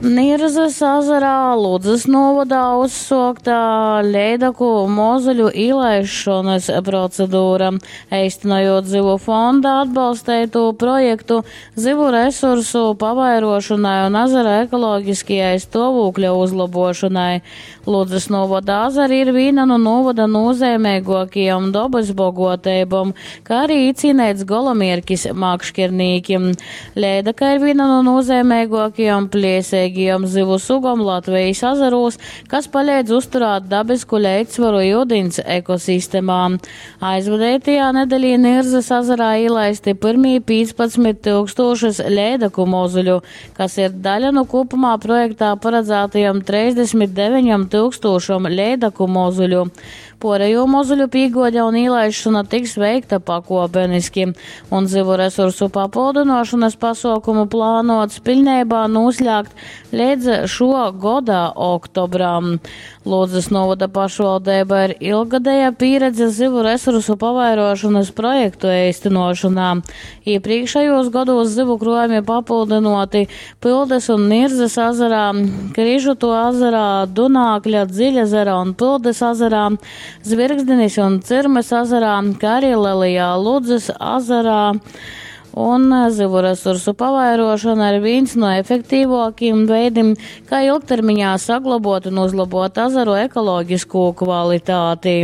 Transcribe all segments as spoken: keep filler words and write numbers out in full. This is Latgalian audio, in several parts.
Nirzys azarā Ludzys nūvodā uzsuokta leidaku mozuļu īlaisšonys procedura, eistynojūt Zyvu fonda atbalsteitū projektu zyvu resursu pavairuošonai un azara ekologiskajai stuovūkļa uzlobuošonai. Ludzys nūvoda azari ir vīna nu nūvoda nūzeimeiguokajom dobys boguoteibom, kā arī īcīneits golamierkis makškernīkim. Leidaka ir vīna nu nūzeimeiguokajom plieseigajom zyvu sugom Latvejis azarūs, kas paleidz uzturēt dabisku leidzsvaru iudiņs ekosistemā. Aizvadeitajā nedeļī Nirzys azarā īlaisti pyrmī pīcpadsmit tyukstūšys leidaku mozuļu, kas ir daļa nu kūpumā projektā paradzātajom treisdesmit deveņom tyukstūšom leidaku mozuļu. Puorejū mozuļu pīguode un īlaišona tiks veikta pakuopeniski, un zyvu resursu papildynuošonys pasuokumu plānuots piļneibā nūslēgt leidz šuo goda oktobram. Ludzys nūvoda pašvaldeiba ir ilggadeja pīredze zyvu resursu pavairuošonys projektu eistynuošonā. Iepriekšējos godūs zyvu kruojumi papildynuoti Pildys un Nirzys azarā, Križutu azarā, Dunākļa, Dziļezera un Pildys azarā, Zvirgzdinis un Cirmys azarā, kā arī Lielajā Ludzys azarā. Un zivu resursu pavairošana ir viens no efektīvākiem veidim, kā ilgtermiņā saglabot un uzlabot azaru ekoloģisko kvalitāti.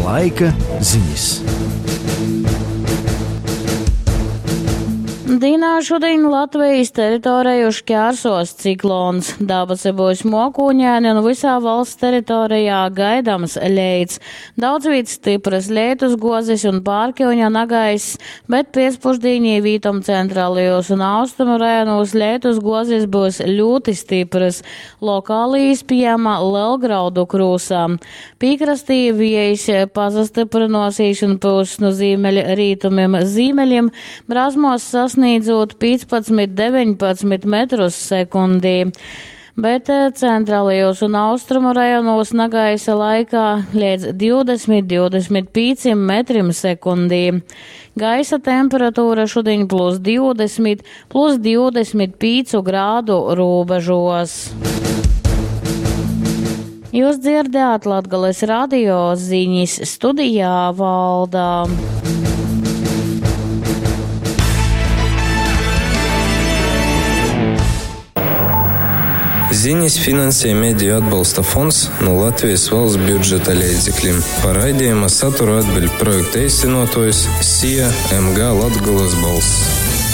Laika ziņas. Dīnā šodien Latvijas teritorijā šķērsos ciklons. Dabasi būs mokūņaini un visā valsts teritorijā gaidams leits. Daudz vīt stipras leitus gozes un pārkiuņa nagaiss, bet piecpušdīnī vītom centrālajos un austrumu rajonos leitus gozes būs ļoti stipras. Lokāli īspējama lielgraudu krūsā. Pīkrastī viejs pazastiprinosies un pūs no zīmeļa rītumiem zīmeļiem, brāzmos sasniedz sasniedzot piecpadsmit deviņpadsmit metrus sekundī. Bet centrālajos un austrumu rajonos nagaisa laikā līdz divdesmit divdesmit pieciem metrim sekundī. Gaisa temperatūra šodien plus divdesmit, plus divdesmit piecu grādu robežos. Jūs dzirdējāt Latgales radio ziņas studijā Valdā. Ziņas finansē Mediju atbalsta fonds no Latvijas valsts budžeta līdzekļiem. Par raidījuma saturu atbild projekta īstenotājs S I A M G Latgolas balss.